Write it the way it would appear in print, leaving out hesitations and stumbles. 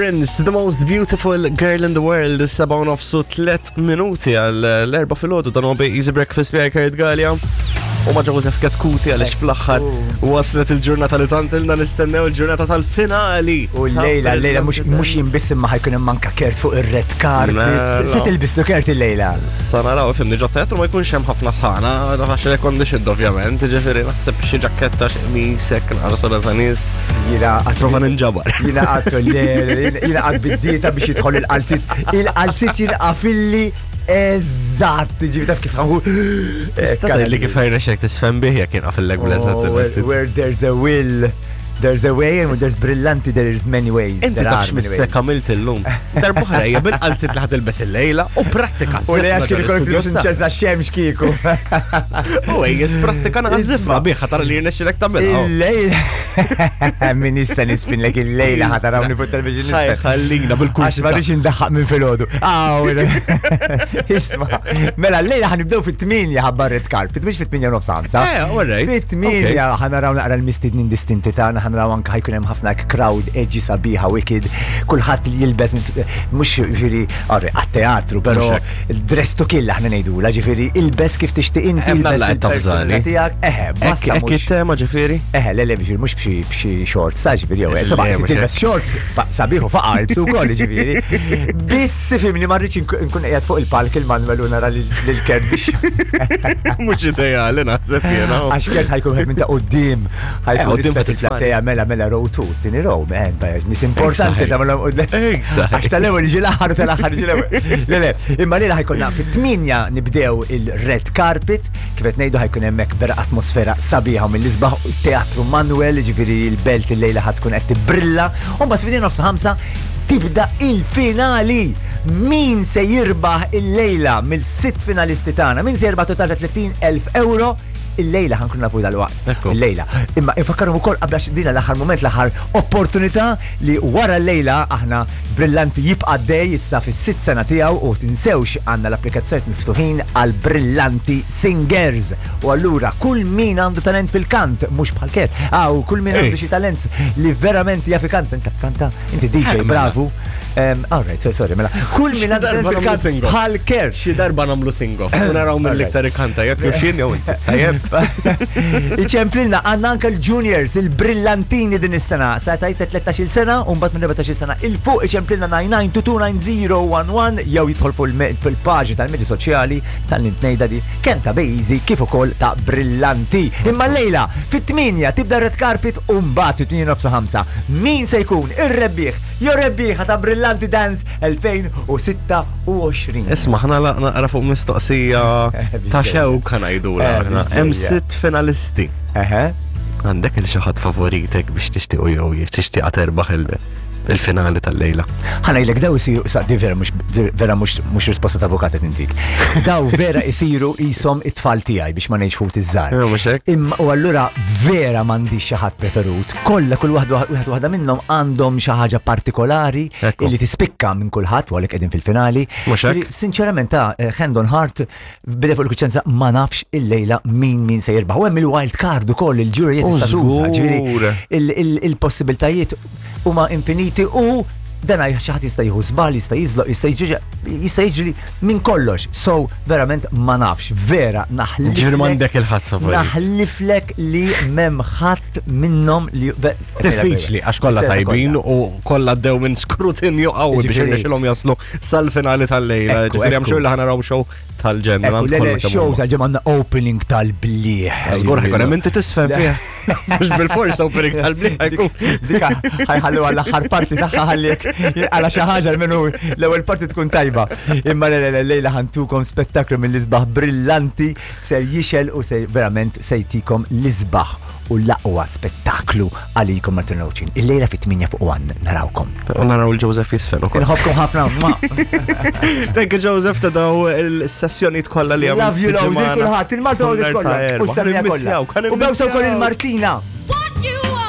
Prince, the most beautiful girl in the world, is-seba' u nofsu tlet minuti għal l-erba' filgħodu dan huwa Easy Breakfast bi Kurt Gallia. U ma' Joseph Ketkuti għaliex fl-aħħar waslet il-ġurnata li tant ilna nistennew il-ġurnata tal-finali. U l-lejla, l-lejla mhux mhux jien biss imma ħajkun hemm anka Kurt fuq ir-red carpet. Mela. Se tilbislu Kurt il-lejla. Sa naraw fimni ġo teatru ma jkunx hemm ħafna sħana, għax air conditioned ovvjament, ġifieri naħseb xi ġaketta xi qmisek naqra ta' nies. Jiena qatt Prova ninġabar. Jiena qatt jiena qatt bid-dieta biex jidħol il-qalzit. Il-qalzit jinqafilli eżatt, ġifi taf kif ħangu. Tista' tgħidli kif ħajrexek tisfen bih jekk jinqafillek bl-eżatt Oh, il-qalzit. Where there's a will, there's a way, and where there's brillanti, there is many ways. Inti There tafx are many missek ways. għamilt illum. Darbohra hija bil-qalzit li ħatilbes il-lejla u prattika. U li għax kien ikollok ikollok flus inċerta xemx kieku. U ejjes prattika naqazzifra biħa tara li jirnexxilek tagħmilha. Il-lejla. Min issa nispinlek il-lejla ħatarawni fuq television Ħaj, nispen. ħallina Għax bil-kursi. ma rridx indaħħaq minn filgħodu. Aw, Isma, mela l-lejla ħanibdew fit-8 ħabba red carpet, mhux fit-8 nofs ħamsa. Eh, all right. Fit-8 ħanaraw naqra l-mistednin distinti tagħna, ħanaraw anke ħajkun hemm ħafna crowd edgy sabiħa wicked, kulħadd li jilbes mhux ġifieri għat-teatru, però Mhux dress to kill aħna ngħidula, ġifieri ilbes kif tixtieq inti, Hemm ilbes dalla qed tafżani. il-personalità tiegħek. Eħe, basta Hekk mhux. it-tema ġifieri? Eħe, le, le, ġifieri, mhux b'xi b'xi shorts, ta' ġifieri, jew, Le, seba' mhux tilbes shorts, fa- sabiħ u faqa' ilbsu wkoll, ġifieri. Biss fimni ma rridx nkun qiegħed fuq il-palk il-Manuel u nara lil Kurt biex. Mhux ideali naħseb jiena. Għax Kurt ħajkun wieħed minn ta' quddiem, ħajkun quddiem isfel ta' titfani. il-platea mela mela row 2, tieni row, man, nies importanti Exactly. ta' mela. Exactly. Għax tal-ewwel jiġi l-aħħar u tal-aħħar jiġi l-ewwel. Le, le, imma lejla ħajkonna fit-8 nibdew il-red carpet, kif qed ngħidu ħajkun hemmhekk vera atmosfera sabiħa u mill-isbaħ Teatru Manuel, ġifieri l-belt il-lejla ħad tkun qed tibbrilla, u mbagħad fidejn nofs ħamsa tibda il-finali. Min se jirbaħ il-lejla mill-sitt finalisti tagħna? Min se jirbaħ total ta' 30,000 euro? Il-lejla ħankun nafu dal-waqt. Ekku. Il-lejla. Imma infakkarhom ukoll qabel għax dina l-aħħar moment, l-aħħar opportunità li wara l-lejla aħna Brillanti jibqa' dej issa fis-sitt sena tiegħu u tinsewx għandna l-applikazzjonijiet miftuħin għal Brillanti Singers. U allura kull min għandu talent fil-kant, mhux bħal Kurt, aw kull min għandu Ej. xi talent li verament jaf ikanta, inti taf tkanta, inti DJ, Eh, mela. bravu. Um, all right, sorry, sorry, mela. Kull min għandu darba talent nagħmlu fil-kant sing-off. bħal Kurt. Xi darba nagħmlu sing-off u naraw mill-iktar ikanta jekk jew xien jew inti. Tajjeb. Iċemplilna għandna anke l-juniors, il-brillantini din is-sena. Sa tajt 13 sena u mbagħad minn 14 sena il fuq iċemplilna 99229011 jew jidħol fuq il- fil-paġni tal-medji soċjali tal-intnejda di kemm ta' Bejzi kif ukoll ta' Brillanti. Imma llejla fit-8 tibda red carpet u mbagħad fit-8 nofs ħamsa. Min se jkun ir-rebbieħ jew rebbieħa ta' Brillanti Dance 2026? Isma' ħna naqra fuq mistoqsija ta' xewk ħanajdula Eh, aħna. biex Hemm ġejja. sitt finalisti. Eħe. Għandek il xi ħadd favoritek biex tixtiequ jew tixtieqa terbaħ il- il-finali tal-lejla. Ħanajlek daw isiru, sa di vera mhux vera mhux mhux risposta ta' avukat qed intik. Daw vera isiru ishom it-tfal tiegħi biex ma ngħidx ħut iż-żgħar. Eh, mhux hekk? Imma u allura vera m'għandix xi ħadd preferut. Kollha kull waħda wieħed waħda minnhom għandhom xi ħaġa partikolari Ekku. illi tispikka minn kulħadd u għalhekk qegħdin fil-finali. Mhux hekk? Ġifieri, Sinċerament ta' eh, hand on heart bidej fuq il-kuċenza ma nafx il-lejla min min se jirbaħ. U hemm il-wild card ukoll il-ġuri U tista' tuża. Ġifieri, żgur. il- il- il-possibiltajiet huma infiniti u dan xi ħadd jista' jieħu żball, jista' jiżloq, jista' jiġri jista' jiġri minn kollox. So verament ma nafx, vera naħliflek. Ġifieri m'għandek il-ħadd favorit. Naħliflek li m'hemm ħadd minnhom li Diffiċli, għax kollha Sena tajbin kollha. u kollha għaddew minn skrutinju qawwi biex Ġifieri- irnexxilhom jaslu sal-finali tal-lejla. Ekku, Ġifieri hemm ekku. xogħol li ħanaraw show tal-ġenn. Ekku, le, le, show tal-ġemma għandna opening tal-bliħ. Żgur ħajkun hemm inti tisfem fih. Mhux bil-fors opening tal-bliħ ħajkun. Dika ħajħallu għall-aħħar parti tagħha ħallek għala xi ħaġa minnu l-ewwel parti tkun tajba. Imma le le le lejla ħantukom spettaklu mill-isbaħ brillanti ser jixel u se verament se jtikom l-isbaħ u l-aqwa spettaklu għalikom Martin Roċin. Il-lejla fit-8 fuq 1 narawkom. U naraw il-Joseph jisfen ukoll. Inħobbkom ħafna. Mwah. Thank you Joseph ta' daw il-sessjonijiet kollha li Love you, għamilt love you, kulħadd, il-Malta Għawdex kollha. U s-semija kollha. U bewsa wkoll il-Martina.